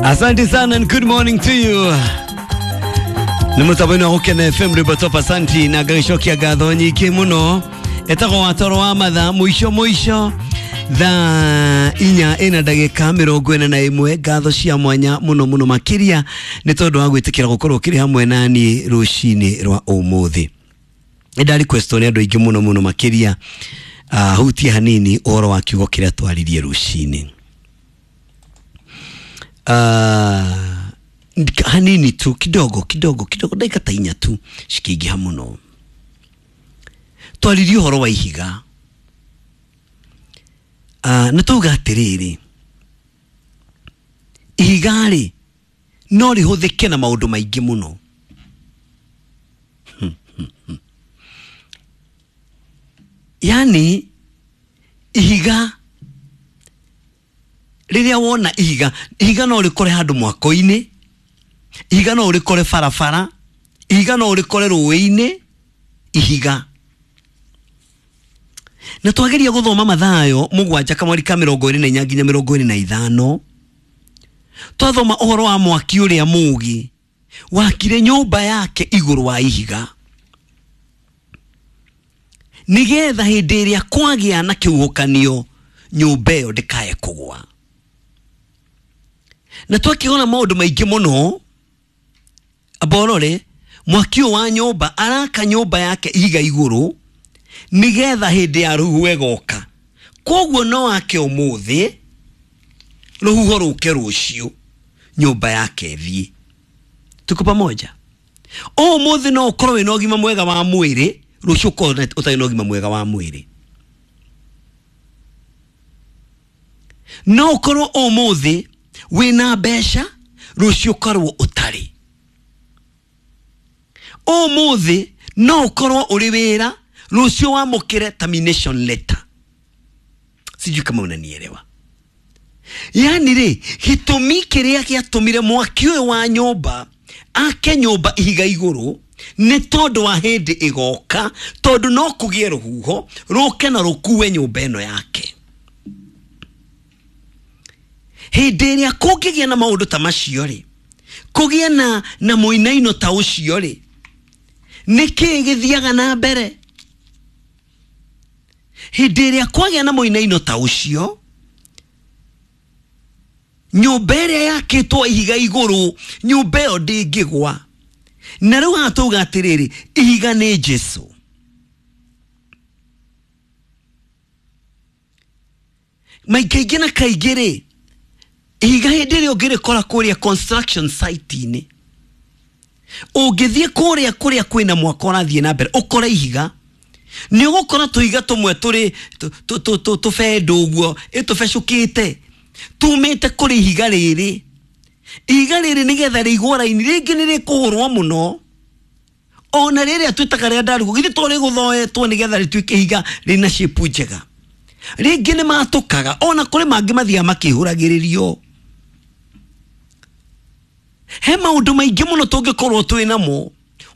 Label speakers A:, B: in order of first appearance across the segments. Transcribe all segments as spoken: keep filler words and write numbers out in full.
A: Asante sana and good morning to you. Nĩ mũtambo-inĩ wa Gũkena F M rwĩmbo top asanti na ngagĩcokia ngatho nyingĩ mũno. Etagwo watoro wa mathaa mũico mũico thaa inya ĩna ndagĩka mĩrongo ĩna na ĩmwe. Ngatho cia mwanya mũno mũno makĩria nĩ tondũ wa gwĩtĩkĩra gũkorwo ũkĩrĩ hamwe na niĩ rũcinĩ rwa ũmũthĩ. Nĩ nda request nĩ andũ aingĩ mũno mũno makĩria uh, hutie hanini ũhoro wa kiugo kĩrĩa twaririe rũcinĩ. Uh, hanini tu kidogo kidogo kidogo dakika ta inya tu cikĩingĩha mũno. Twaririe ũhoro wa ihiga. Uh, na tuga atĩrĩrĩ, ihiga rĩ no rĩhũthĩke na maũndũ maingĩ mũno. Yani ihiga rĩrĩa wona ihiga, ihiga no rĩkore handũ mwako-inĩ, ihiga no rĩkore barabara, ihiga no rĩkore rũĩ-inĩ, ihiga. Na twageria gũthoma Mathayo mũgwanja kamweri ka mĩrongo ĩrĩ na inya nginya mĩrongo ĩrĩ na ithano, twathoma ũhoro wa mwaki ũrĩa mũũgĩ wakire nyũmba yake igũrũ wa ihiga, nĩgetha hĩndĩ ĩrĩa kwagĩa na kĩhuhũkanio nyũmba ĩyo ndĩkae kũgwa. Na twakĩona maũndũ maingĩ mũno. Aborore mwaki ũyũ wa nyũmba araka nyũmba yake ihiga igũrũ nĩgetha hĩndĩ ya rũhuho ĩgoka. Koguo no ake ũmũthĩ rũhuho rũke rũciũ nyũmba yake ĩthiĩ. Tuko pamoja? Ũmũthĩ no ũkorwo wĩna ũgima mwega wa mwĩrĩ, rũciũ ũkorwo ũtarĩ na ũgima mwega wa mwĩrĩ. No ũkorwo ũmũthĩ wĩna mbeca, rũciũ ũkorwo ũtarĩ. Ũmũthĩ no ũkorwo ũrĩ wĩra, rũciũ wamũkĩre termination letter. Sijui kama unanielewa. Yani rĩ, gĩtũmi kĩrĩa gĩatũmire mwaki ũyũ wa nyũmba ake nyũmba ihiga igũrũ nĩ tondũ wa hĩndĩ ĩgoka, tondũ no kũgĩe rũhuho rũke na rũkue nyũmba ĩno yake. Hĩndĩ ĩrĩa kũngĩgĩa na maũndũ ta macio rĩ, kũgĩe na na mũinaino ta ũcio rĩ, nĩkĩĩ gĩthiaga na mbere? Hĩndĩ ĩrĩa kwagĩa na mũinaino ta ũcio, nyũmba ĩrĩa yakĩtwo ihiga igũrũ, nyũmba ĩyo ndĩngĩgwa. Na rĩu haha tauga atĩrĩrĩ, ihiga nĩ Jesũ. Maikaingĩ na kaingĩ rĩ, ihiga hĩndĩ ĩrĩa ũngĩrĩkora kũrĩa construction site-inĩ, ũngĩthiĩ kũrĩa kũrĩa kwĩna mwako ũrathiĩ na mbere ũkore ihiga, nĩ ũgũkora tũiga tũmwe tũrĩ tũbendo ũguo ĩtũbecũkĩte tumĩte kũrĩ ihiga rĩrĩ. Ihiga rĩrĩ nĩgetha rĩigwo raini, rĩngĩ nĩ rĩkũhũrwo mũno, ona rĩrĩa twĩtaga rĩa ndarugũ githĩ to rĩgũthoetwo nĩgetha rĩtuĩke ihiga rĩna shape njega. Rĩngĩ nĩ matũkaga, ona kũrĩ mangĩ mathiaga makĩhũragĩrĩrio. He maũndũ maingĩ mũno tũngĩkorwo twĩ namo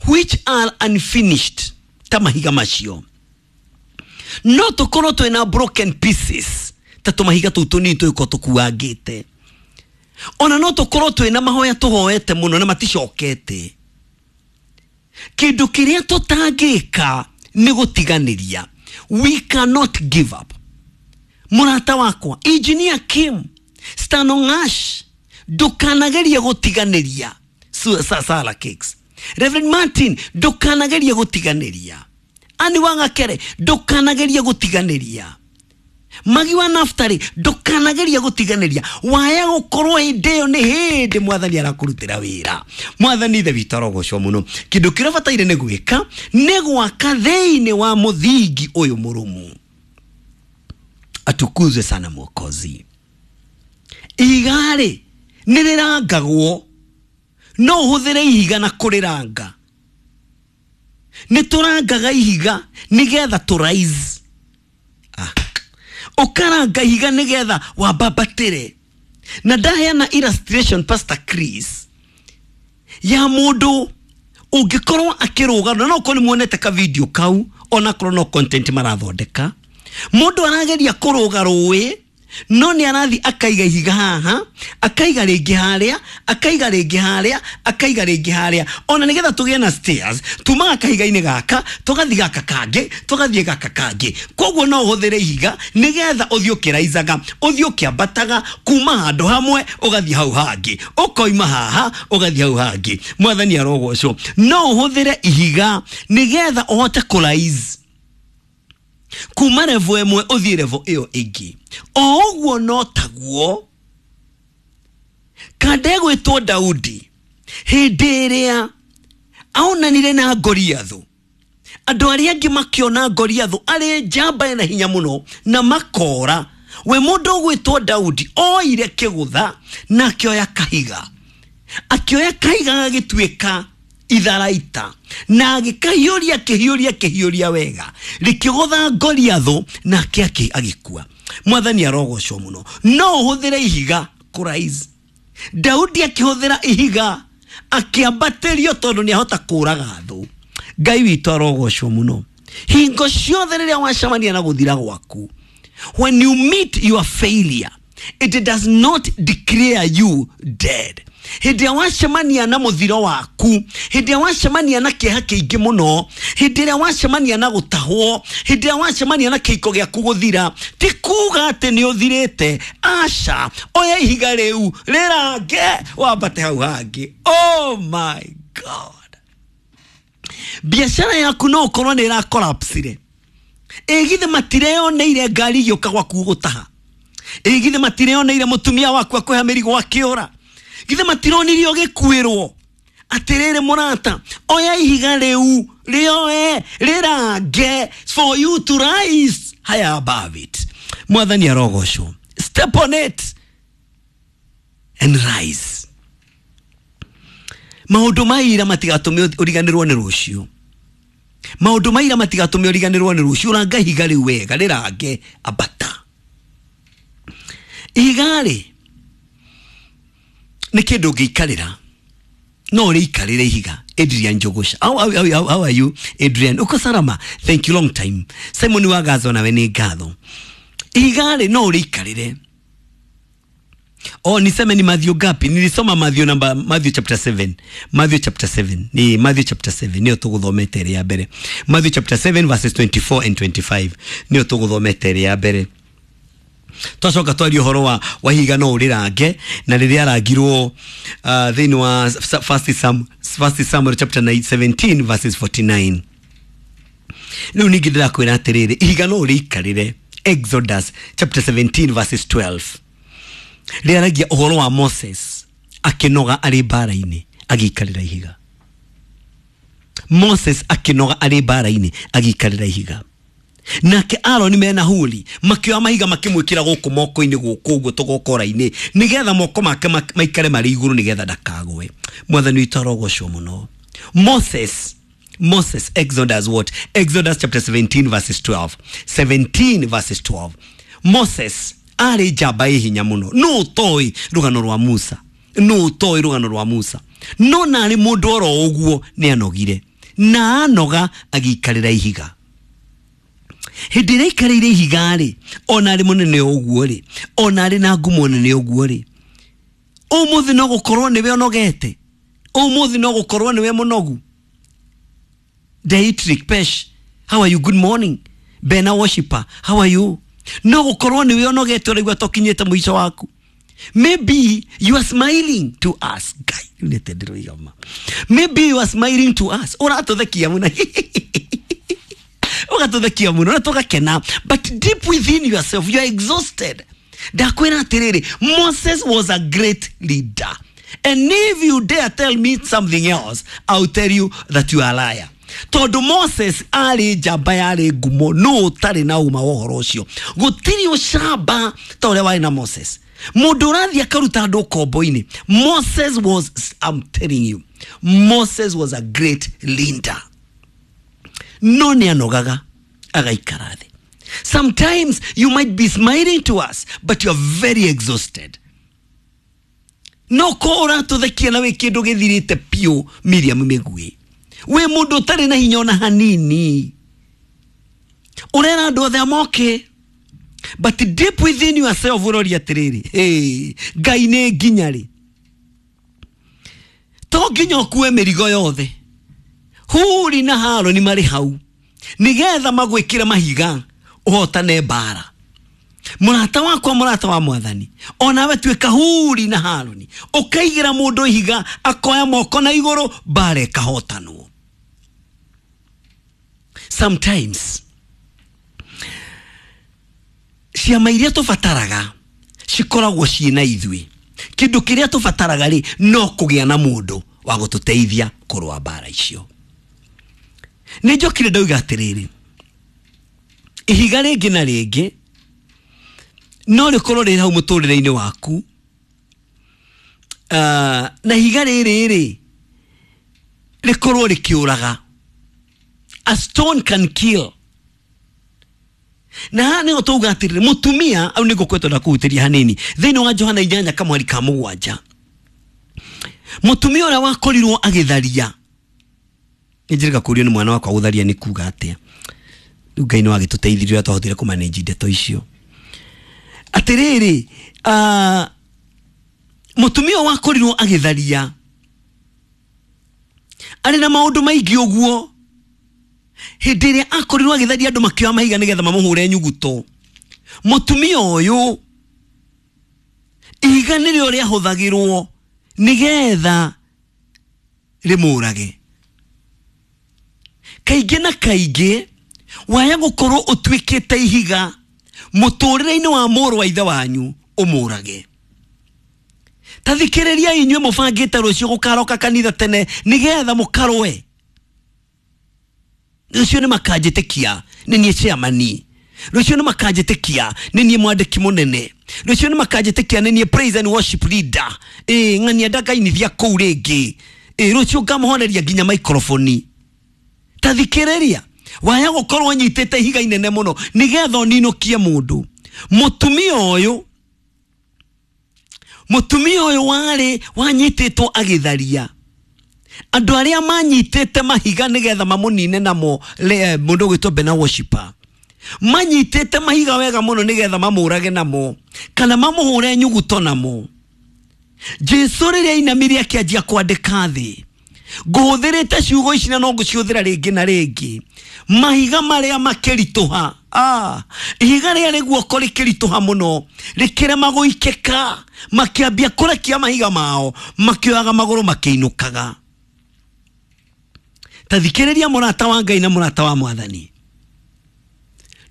A: which are unfinished ta mahiga macio. No tũkorwo twĩna broken pieces ta tũmahiga tũu tũnini tũgĩkorwo tũkuangĩte. Ona no tũkorwo twĩna mahoya tũhoete mũno na maticokete. Kĩndũ kĩrĩa tũtangĩka nĩ gũtiganĩria. We cannot give up. Mũrata wakwa, Engineer Kim Stanongash, ndũkanagerie gũtiganĩria. Sala Cakes. Reverend Martin, ndũkanagerie gũtiganĩria. Ani Wangakere, ndũkanagerie gũtiganĩria. Magi wa Naftali, ndũkanagerie gũtiganĩria. Waya gũkorwo hĩndĩ ĩyo nĩ hĩndĩ mwathani arakũrutĩra wĩra. Mwathani ithe witũ arogocwo mũno. Kĩndũ kĩrĩa ũbataire nĩ gwĩka nĩ gwaka thĩinĩ wa mũthingi ũyũ mũrũmu. Atukuzwe sana Mwokozi. Ihiga rĩ nĩ rĩrangagwo, no ũhũthĩre ihiga na kũrĩranga. Nĩ tũrangaga ihiga nĩgetha tũ rise. Ah. Ũkaranga ihiga nĩgetha wambambatĩre. Na ndaheana illustration Pastor Chris ya mũndũ ũngĩkorwo akĩrũga, na no ũkorwo nĩ muonete ka video kau, ona korwo no content marathondeka. Mũndũ arageria kũrũga rũĩ No nĩ arathi akaiga ihiga haha, akaiga rĩngĩ harĩa, akaiga rĩngĩ harĩa, akaiga rĩngĩ harĩa. Ona nĩgetha tũgĩe na stairs, tumaga kahiga-inĩ gaka, tũgathiĩ gaka kangĩ, tũgathiĩ gaka kangĩ. Koguo no ũhũthĩre ihiga nĩgetha ũthiĩ ũkĩraicaga, ũthiĩ ũkĩambataga kuma handũ hamwe ũgathiĩ hau hangĩ, ũkoima haha ũgathiĩ hau hangĩ. Mwathani arogocwo. No ũhũthĩre ihiga nĩgetha ũhote kũraise kuma level ĩmwe ũthiĩ level ĩyo ĩngĩ. O ũguo no taguo kanda ĩgwĩtwo Daudi hĩndĩ ĩrĩa aonanire na Goliathũ, andũ arĩa angĩ makĩona Goliathũ arĩ njamba ĩna hinya mũno na makora. We mũndũ ũgwĩtwo Daudi oire kĩgũtha na akĩoya kahiga, akĩoya kahiga gagĩtuĩka itharaita na agĩkahiũria akĩhiũria akĩhiũria wega, rĩkĩgũtha Goliathũ nake agĩkua. Mwathani arogocwo mũno. No ũhũthĩre ihiga kũraise. Daudi akĩhũthĩra ihiga akĩambatĩrio tondũ nĩahota kũraga thũ. Ngai witũ arogocwo mũno. Hingo ciothe rĩrĩa wacemania na gũthira gwaku, when you meet your failure, it does not declare you dead. Hĩndĩ ĩrĩa wacemania na mũthiro waku, hĩndĩ ĩrĩa wacemania na kĩeha kĩingĩ mũno, hĩndĩ ĩrĩa wacemania na gũtahwo, hĩndĩ ĩrĩa wacemania na kĩhiko gĩaku gũthira, ti kuga atĩ nĩ ũthirĩte. Aca, oya ihiga rĩu rĩrange wambate hau hangĩ. Oh my God, biacara yaku no ũkorwo nĩ ĩrakolapsire. Ĩ githĩ matireoneire ngari igĩũka gwaku gũtaha? Ĩ githĩ matireoneire mũtumia waku akũhe mĩrigo akĩũra? Githĩ matironirio gĩkuĩrwo? Atĩrĩrĩ mũrata, oya ihiga rĩu rĩoe rĩrange for you to rise higher above it. Mwathani arogocwo. Step on it and rise. Maũndũ ma ira matigatũme ũriganĩrwo nĩ rũciũ. Maũndũ ma ira matigatũme ũriganĩrwo nĩ rũciũ. Ranga ihiga rĩu wega, rĩrange, ambata. Ihiga rĩ nĩ kĩndũ ũngĩikarĩra, no ũrĩikarĩre ihiga. Adrian Jogosha, how, how, how, how are you Adrian? Uko salama? Thank you, long time. Simon wa Gazo, nawe nĩ ngatho. Ihiga rĩ no ũrĩikarĩre. Oh, niseme ni Matthew gapi? Nilisoma Matthew number Matthew chapter seven. Matthew chapter seven. Ni Matthew chapter seven. Niyo tuguthomete ĩrĩa ya mbere. Matthew chapter seven verses twenty-four and twenty-five. Niyo tuguthomete ĩrĩa ya mbere. Twacoka twaria ũhoro wa wahiga no ũrĩrange na rĩrĩa arangirwo uh, thĩinĩ wa First Sam First Samuel chapter nine, seventeen verses forty-nine. Rĩu ningĩ ndĩrakwĩra atĩrĩrĩ, ihiga no ũrĩikarĩre. Exodus chapter seventeen verses twelve. Rĩaragia ũhoro wa Moses akĩnoga arĩ mbara-inĩ agĩikarĩra ihiga. Moses akĩnoga arĩ mbara-inĩ agĩikarĩra ihiga. Nake Aaron mena Huri makĩoya mahiga makĩmwĩkĩra gũkũ moko-inĩ gũkũ ũguo tũgokora-inĩ nĩgetha moko make maikare marĩ igũrũ nĩgetha ndakagwe. Mwathani witũ arogocwo mũno. Moses Moses Exodus what? Exodus chapter seventeen verses twelve. seventeen verses twelve. Moses arĩ njamba ĩ hinya mũno. No ũtoĩ rũgano rwa Musa. No ũtoĩ rũgano rwa Musa. No narĩ mũndũ oro ũguo nĩ anogire. Na anoga agĩikarĩra ihiga. Hĩndĩ ĩrĩa aikarĩire ihiga rĩ, ona arĩ mũnene ũguo rĩ, ona arĩ na ngumo nene ũguo rĩ, ũmũthĩ no gũkorwo nĩwe ũnogete. Ũmũthĩ no gũkorwo nĩwe mũnogu. Dietrich Pesh, how are you? Good morning. Bena worshiper, how are you? No gũkorwo nĩwe ũnogete ũraigua tokinyĩte mũico waku. Maybe you are smiling to us. Guy, maybe you are smiling to us. Ũratũthekia mũno. Ũgatũthekia mũno na tũgakena, but deep within yourself you are exhausted. Ndakwĩra atĩrĩrĩ, Moses was a great leader. And if you dare tell me something else, I'll tell you that you are a liar. Tondũ Moses arĩ njamba yarĩ ngumo, no ũtarĩ na ũma wa ũhoro ũcio. Gũtirĩ ũcamba ta ũrĩa warĩ na Moses. Mũndũ ũrathiĩ akaruta andũ ũkombo-inĩ. Moses was, I'm telling you, Moses was a great leader. No nĩ anogaga agaikara thĩ. Sometimes you might be smiling to us, but you are very exhausted. No ko ũratũthekia na wĩ kĩndũ gĩthirĩte piũ Miriam Mĩgui. Wĩ mũndũ ũtarĩ na hinya ona hanini. Ũrera andũ othe amoke. But deep within yourself ũroria atĩrĩrĩ, hey, Ngai nĩ nginya rĩ? To nginya ũkue mĩrigo yothe. Huri na Harũni marĩ hau nĩgetha magwĩkĩre mahiga ũhotane mbara. Mũrata wakwa, mũrata wa mwathani, onawe tuĩka Huri na Harũni, ũkaigĩra mũndũ ihiga akoya moko na igũrũ, mbara ĩkahotanwo. Sometimes ciama iria tũbataraga cikoragwo ciĩ na ithuĩ. Kĩndũ kĩrĩa tũbataraga rĩ, no kũgĩa na mũndũ wa gũtũteithia kũrũa mbara icio. Nĩ njokire ndauga atĩrĩrĩ, ihiga rĩngĩ na rĩngĩ no rĩkorwo rĩ hau mũtũrĩre-inĩ waku, uh, na ihiga rĩrĩ rĩ rĩkorwo rĩkĩũraga. A stone can kill. Na haha nĩho tauga atĩrĩrĩ, mũtumia au nĩngũkwetwo ndakũhutĩria hanini thĩinĩ wa Johana inyanya kamweri ka mũgwanja, mũtumia ũrĩa wakorirwo agĩtharia. Nĩ njĩrĩga kũrio nĩ mwana wakwa gũtharia nĩ kuga atĩa. Rĩu Ngai nĩ wagĩtũteithirie ũrĩa twahotire kũmanage ndeto icio. Atĩrĩrĩ, uh, mũtumia ũyũ wakorirwo agĩtharia arĩ na maũndũ maingĩ ũguo, hĩndĩ ĩrĩa akorirwo agĩtharia andũ makĩoya mahiga nĩgetha mamũhũre nyuguto. Mũtumia ũyũ ihiga nĩrĩo rĩahũthagĩrwo nĩgetha rĩmũrage. Kaingĩ na kaingĩ waya gũkorwo ũtuĩkĩte ihiga mũtũrĩre-inĩ wa mũrũ wa ithe wanyu ũmũrage. Ta thikĩrĩria inyuĩ mũbangĩte rũciũ gũkaroka kanitha tene nĩgetha mũkarũe. Rũciũ nĩ makanjĩtĩkia nĩ niĩ chairman, rũciũ nĩ makanjĩtĩkia nĩ niĩ mwandĩki mũnene, rũciũ nĩ makanjĩtĩkia nĩ niĩ praise and worship leader. Ĩ ng'ania ndakainithia kũu rĩngĩ, ĩ rũciũ ngamũhoneria nginya microphone. Ta thikĩrĩria, waya gũkorwo nyitĩte ihiga inene mũno nĩgetha ũninũkie mũndũ. Mũtumia ũyũ, mũtumia ũyũ warĩ wanyitĩtwo agĩtharia, andũ arĩa manyitĩte mahiga nĩgetha mamũnine namo, mũndũ ũgwĩtwo Bena Worshiper, manyitĩte mahiga wega mũno nĩgetha mamũrage namo kana mamũhũre nyuguto namo. Jesu rĩrĩa ainamire akĩanjia kwandĩka thĩ, ngũhũthĩrĩte ciugo ici na no ngũcihũthĩra rĩngĩ na rĩngĩ, mahiga marĩa makĩritũha, ah, ihiga rĩarĩ guoko rĩkĩritũha mũno rĩkĩrema gũikĩka, makĩambia kũrekia mahiga mao, makĩoyaga magũrũ makĩinũkaga. Ta thikĩrĩria mũrata wa Ngai na mũrata wa mwathani,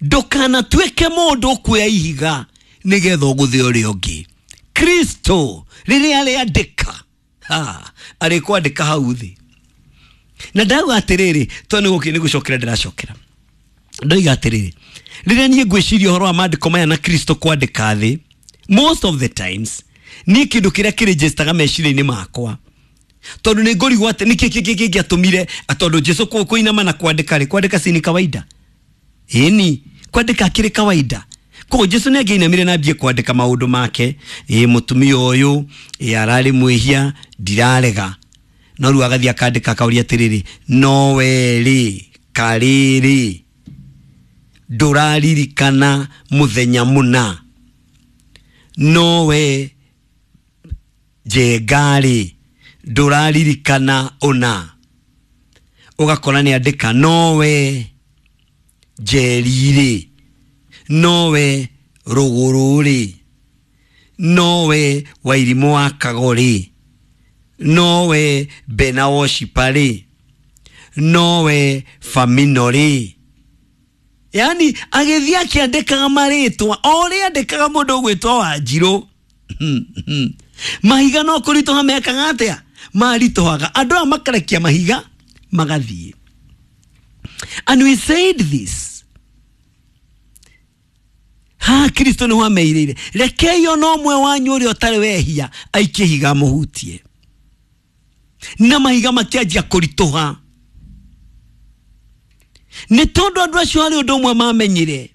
A: ndũkanatuĩke mũndũ ũkuoya ihiga nĩgetha ũgũthe ũrĩa ũngĩ. Kristo rĩrĩa arĩandĩka, arĩkwandĩka hau thĩ. Na ndauga atĩrĩrĩ, tondũ nĩ gũkĩ nĩ gũcokera ndĩracokera, ndoiga atĩrĩrĩ, rĩrĩa niĩ ngwĩciria ũhoro wa maandĩko maya na Kristo kwandĩka thĩ, most of the times niĩ kĩndũ kĩrĩa kĩrĩnjĩstaga meciria-inĩ makwa, tondũ nĩ ngũrigwo atĩ nĩkĩ kĩngĩ kĩngĩatũmire, tondũ Jesu kũinama na kwandĩka rĩ, kwandĩka si ni kawaida? Ĩni, kwandĩka akĩrĩ kawaida. Koguo Jesu nĩ angĩinamire na ambie kwandĩka maũndũ make. Ĩ mũtumia ũyũ ĩ ararĩ mwĩhia, ndirarega, no rĩu agathiĩ akandĩka akauria atĩrĩrĩ, no we rĩ karĩrĩ ndũraririkana mũthenya mũna, no we Njenga rĩ ndũraririkana ũna. Ũgakora nĩ andĩka no we Njeri rĩ, no we Rũgũrũ rĩ, no we Wairimũ wa Kago rĩ, no we Bena Worshiper rĩ, no we Famino rĩ. Yani agĩthiĩ akĩandĩkaga marĩtwa o ũrĩa andĩkaga mũndũ ũgwĩtwo Wanjirũ. Mahiga no kũritũha mekaga atĩa? Maritũhaga. Andũ aya makarekia mahiga magathiĩ. And we said this, ha Kristo nĩho ameirĩire, rekei ona ũmwe wanyu ũrĩa ũtarĩ wehia aikie ihiga amũhutie. Na mahiga makĩanjia kũritũha nĩ tondũ andũ acio harĩ ũndũ ũmwe mamenyire,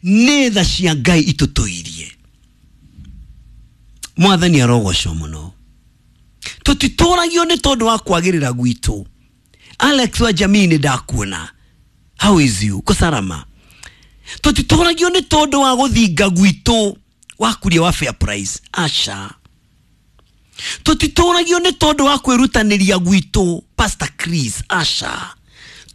A: nĩ tha cia Ngai itũtũirie. Mwathani arogocwo mũno. Tũtitũragio nĩ tondũ wa kwagĩrĩra gwitũ. Alex wa jamii nĩ ndakuona, how is you? Kũcarama. Tũtitũragio nĩ tondũ wa gũthinga gwitũ wa kuria wa fair price, aca. Tũtitũragio nĩ tondũ wa kwĩrutanĩria gwitũ, Pastor Chris, aca.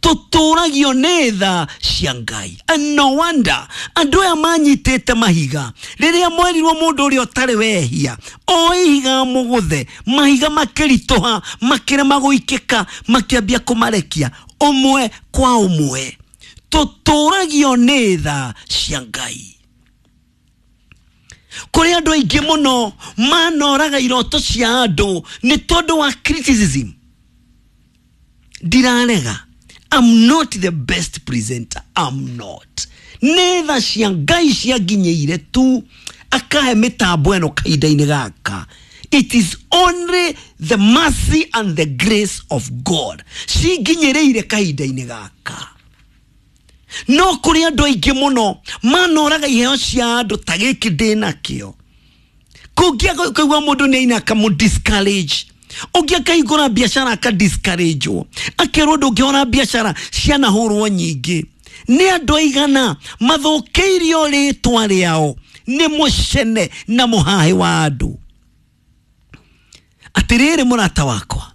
A: Tũtũragio nĩ tha cia Ngai. And no wonder andũ aya manyitĩte mahiga rĩrĩa mwerirwo mũndũ ũrĩa ũtarĩ wehia o ihiga mũgũthe, mahiga makĩritũha, makĩrema gũikĩka, makĩambia kũmarekia ũmwe kwa ũmwe. Tũtũragio nĩ tha cia Ngai. Kũrĩ andũ aingĩ mũno manoraga iroto cia andũ nĩ tondũ wa criticism. Ndirarega, I'm not the best presenter, I'm not. Nĩ tha cia Ngai cianginyĩire tu akahe mĩtambo ĩno kahinda-inĩ gaka. It is only the mercy and the grace of God cinginyĩrĩire kahinda-inĩ gaka. No kũrĩ andũ aingĩ mũno manoraga iheo cia andũ ta gĩkĩ ndĩnakĩo. Kũngĩ kũigua mũndũ nĩ aina akamũ discourage, ũngĩ akahingũra biacara aka discourage-wo, akerwo ndũngĩhũra biacara cianahũrwo nyingĩ. Nĩ andũ aigana mathũkĩirio rĩtwa rĩao nĩ mũcene na mũhahĩ wa andũ. Atĩrĩrĩ mũrata wakwa,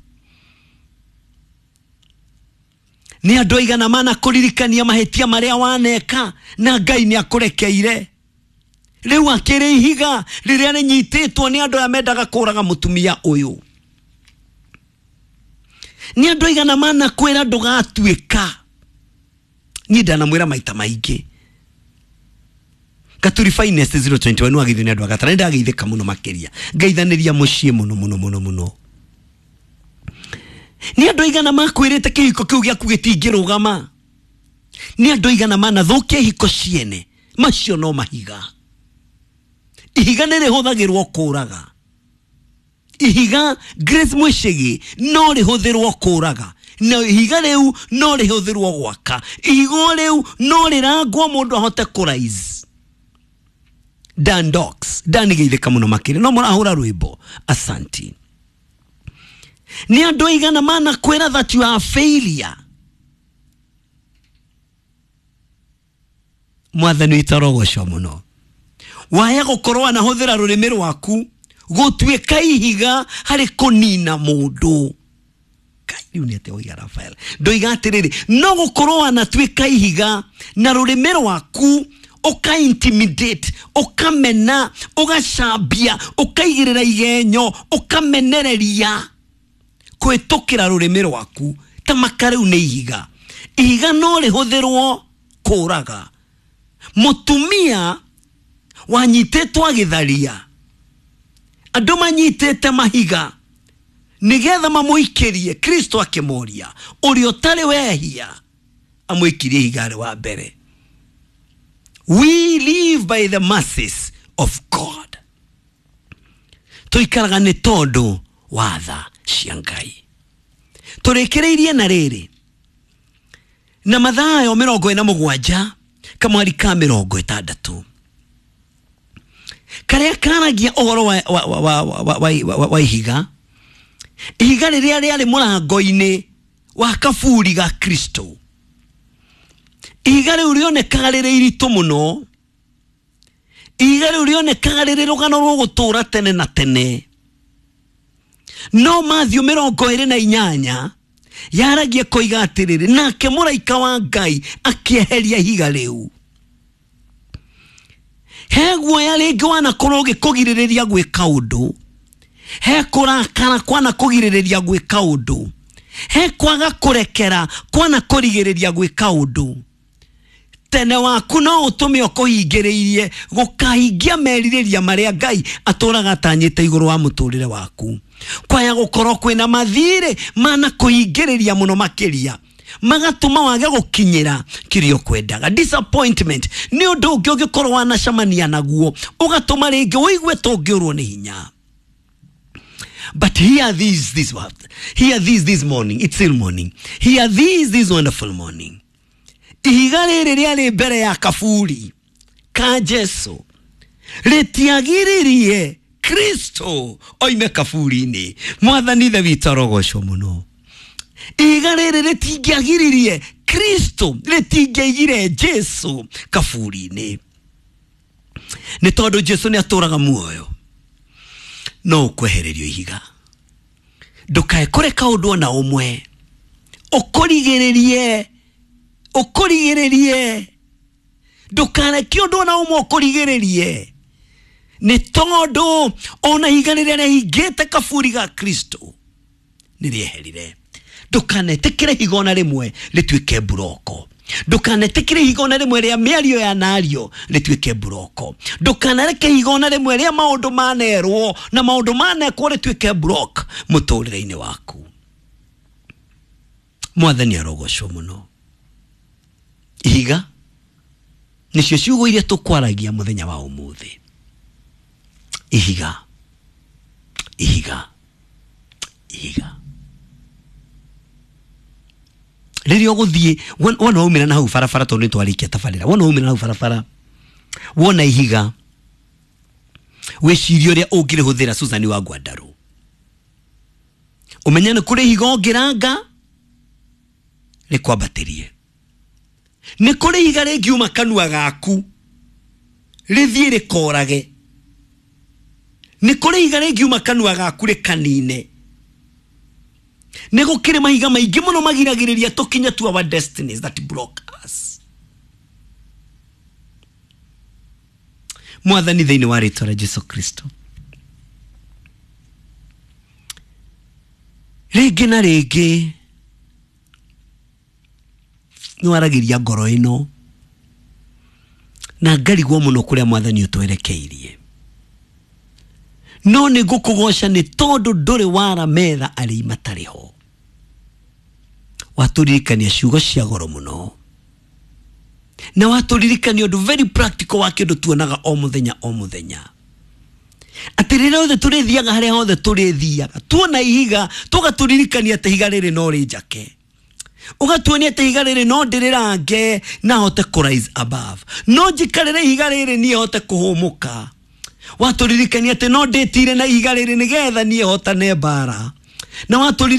A: nĩ andũ aigana manakũririkania mahĩtia marĩa waneka na Ngai nĩ akũrekeire. Rĩu akĩrĩ ihiga rĩrĩa rĩnyitĩtwo nĩ andũ aya mendaga kũraga mũtumia ũyũ. Nĩ andũ aigana manakwĩra ndũgatuĩka. Niĩ ndanamwĩra maita maingĩ. Gaturi Finest zero twenty one wagithio nĩ andũ a Gatara. Nĩ ndageithĩka mũno makĩria, ngaithanĩria mũciĩ mũno mũno mũno mũno. Nĩ andũ aigana makwĩrĩte kĩhiko kĩu gĩaku gĩtingĩrũgama. Nĩ andũ aigana manathũkia ihiko ciene. Macio no mahiga. Ihiga nĩ rĩhũthagĩrwo kũraga. Ihiga Grace Mwĩcĩgĩ no rĩhũthĩrwo kũraga, na ihiga rĩu no rĩhũthĩrwo gwaka. Ihiga rĩu no rĩrangwo mũndũ ahote kũraise. Dan Docs, Dan geithĩka mũno makĩria, no mũrahũra rwĩmbo, asanti. Nĩ andũ aigana manakwĩra that you are a failure. Mwathani witũ arogocwo mũno. Waya gũkorwo anahũthĩra rũrĩmĩ rwaku gũtuĩka ihiga harĩ kũnina mũndũ. Kai, rĩu nĩ atĩa oiga Rafael? Ndoiga atĩrĩrĩ, no gũkorwo anatuĩka ihiga na rũrĩmĩ rwaku ũka intimidate, ũkamena, ũgacambia, ũkaigĩrĩra igenyo, ũkamenereria kũhĩtũkĩra rũrĩmĩ rwaku. Ta maka rĩu nĩ ihiga. Ihiga no rĩhũthĩrwo kũraga. Mũtumia wanyitĩtwo agĩtharia, andũ manyitĩte mahiga nĩgetha mamũikĩrie, Kristo akĩmoria ũrĩa ũtarĩ wehia amũikirie ihiga rĩ wa mbere. We live by the mercies of God. Tũikaraga nĩ tondũ wa tha cia Ngai. Tũrĩkĩrĩirie na rĩrĩ na Mathayo mĩrongo ĩna mũgwanja kamwari ka mĩrongo ĩtandatũ karĩa karagia ũhoro wa, wa, wa, wa, wa, wa, wa, wa ihiga. Ihiga rĩrĩa rĩarĩ mũrango-inĩ wa kaburi ga Kristo. Ihiga rĩu rĩonekaga rĩrĩ iritũ mũno. Ihiga rĩu rĩonekaga rĩrĩ rũgano rũgũtũra tene na tene. No Matthew mĩrongo ĩrĩ na inyanya yaragia koiga atĩrĩrĩ, nake mũraika wa Ngai akĩeheria ihiga rĩu. He guoya rĩngĩ wanakorwo ũgĩkũgirĩrĩria gwĩka ũndũ, he kũrakara kwanakũgirĩrĩria gwĩka ũndũ, he kwaga kũrekera kwanakũrigĩrĩria gwĩka ũndũ. Tene waku no ũtũme ũkũhingĩrĩirie gũkahingia merirĩria marĩa Ngai atũraga atanyĩte igũrũ wa mũtũrĩre waku. Kwaya gũkorwo kwĩna mathirĩ manakũhingĩrĩria mũno makĩria, magatũma wage gũkinyĩra kĩrĩa ũkwendaga. Disappointment nĩ ũndũ ũngĩ ũngĩkorwo wanacemania naguo ũgatũma rĩngĩ ũigue ta ũngĩũrwo nĩ hinya. But hear this, this what? Hear this this morning. It's still morning. Hear this this wonderful morning. Ihiga rĩrĩ rĩarĩ mbere ya kaburi ka Jesu rĩtiagiririe Kristo oime kaburi-inĩ. Mwathani Ithe witũ arogocwo mũno. Ihiga rĩrĩ rĩtingĩagiririe Kristo rĩtingĩaigire Jesu kaburi-inĩ, nĩ tondũ Jesu nĩ atũraga muoyo. No ũkwehererio ihiga, ndũkae kũreka ũndũ ona ũmwe ũkũrigĩrĩrie, ũkũrigĩrĩrie, ndũkareke ũndũ ona ũmwe ũkũrigĩrĩrie, nĩ tondũ ona ihiga rĩrĩa rĩahingĩte kaburi ga Kristo nĩ rĩeherire. Ndũkanetĩkĩre ihiga ona rĩmwe rĩtuĩke mburoko, ndũkanetĩkĩre ihiga ona rĩmwe rĩa mĩario ya nario rĩtuĩke mburoko, ndũkanareke ihiga ona rĩmwe rĩa maũndũ manerwo na maũndũ manekwo rĩtuĩke block mũtũrĩre-inĩ waku. Mwathani arogocwo mũno. Ihiga nĩcio ciugo iria tũkwaragia mũthenya wa ũmũthĩ. Ihiga, ihiga, ihiga. Rĩrĩa ũgũthiĩ wona waumĩra na hau barabara, tondũ nĩtwarĩkia tabarĩra, wona waumĩra na hau barabara wona ihiga, wĩcirie ũrĩa ũngĩrĩhũthĩra. Susan wa Ngwandarũ, ũmenye nĩ kũrĩ ihiga ũngĩranga rĩkwambatĩrie, nĩ kũrĩ ihiga rĩngiuma kanua gaku rĩthiĩ rĩkorage, nĩ kũrĩ ihiga rĩngiuma kanua gaku rĩkanine. Nĩ gũkĩrĩ mahiga maingĩ mũno magiragĩrĩria tũkinye to our destinies that block us. Mwathani, thĩinĩ wa rĩtwa rĩa Jesu Kristo, rĩngĩ na rĩngĩ nĩ waragĩria ngoro ĩno na ngarigwo mũno kũrĩa Mwathani ũtwerekeirie, no nĩ ngũkũgoca nĩ tondũ ndũrĩ wara metha arĩa matarĩ ho. Watũririkania ciugo cia goro mũno, na watũririkania ũndũ very practical wa kĩndũ tuonaga o mũthenya o mũthenya, atĩ rĩrĩa othe tũrĩthiaga harĩa hothe tũrĩthiaga tuona ihiga tũgatũririkania atĩ ihiga rĩrĩ no rĩnjake, ũgatuonia atĩ ihiga rĩrĩ no ndĩrĩrange na hote kũ rise above, no njikarĩre ihiga rĩrĩ niĩ hote kũhũmũka. Watũririkania atĩ no ndĩtire na ihiga rĩrĩ nĩgetha niĩ hotane mbara, na watũririkania